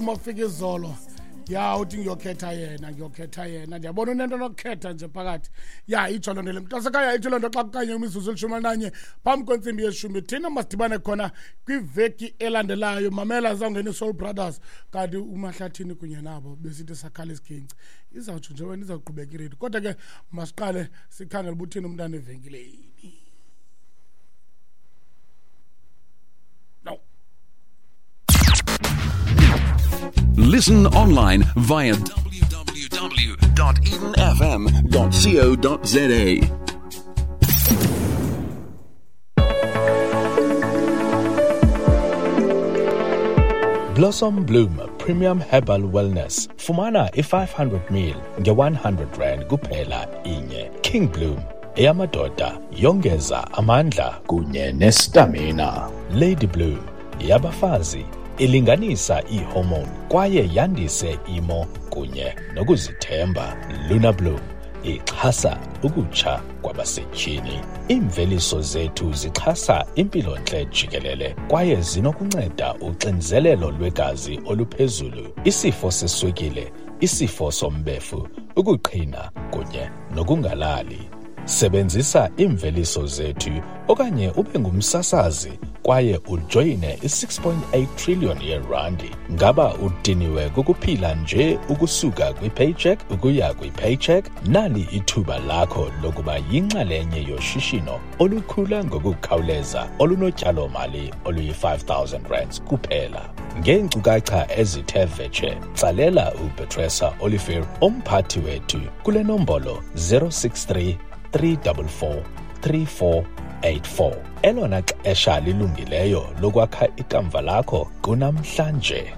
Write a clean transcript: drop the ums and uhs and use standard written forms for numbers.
Mafika izolo ya uthi ngiyokhetha yena, ngiyokhetha yena. Ndiyabona unento nokukhetha nje phakathi. Ya, itsho loo nto le, mntasekhaya, itsho loo nto. Xa kukanye imizuzu 11 phambi kwentsimbi yeshumi, thina masidibane khona kwiveki elandelayo. Mamela, zawungena i-Soul Brothers, kanti uMahlathini kunye nabo besithi sakhala isiginci. Izawutsho nje wena, izawuqhubeka iredi, kodwa ke masiqale sikhangele uba uthini umntana evenkileni. No. Listen online via www.edenfm.co.za. Blossom Bloom Premium Herbal Wellness. Fumana i-500 ml nge-100 rand kuphela inye. King Bloom eyamadoda, yongeza amandla kunye nestamina. Lady Bloom yabafazi, ilinganisa iihormone kwaye yandise imo kunye nokuzithemba. Luna Bloom ixhasa ukutsha kwabasetyhini. Iimveliso zethu zixhasa impilontle jikelele kwaye zinokunceda uxinzelelo lwegazi oluphezulu, isifo seswekile, isifo sombefu, ukuqhina kunye nokungalali. Sebenzisa iimveliso zethu okanye ube ngumsasazi kwaye ujoyine i-6.8 trillion yerandi. Ngaba udiniwe kukuphila nje ukusuka kwi-paycheck ukuya kwi-paycheck? Nali ithuba lakho lokuba yinxalenye yoshishino olukhula ngokukhawuleza olunotyalo-mali oluyi-5000 rands kuphela. Ngeenkcukacha ezithe vetshe, tsalela uPetresa Olivier, umphathi wethu, kule nombolo 063 344 3484. Elona xesha lilungileyo lokwakha ikamva lakho kunamhlanje.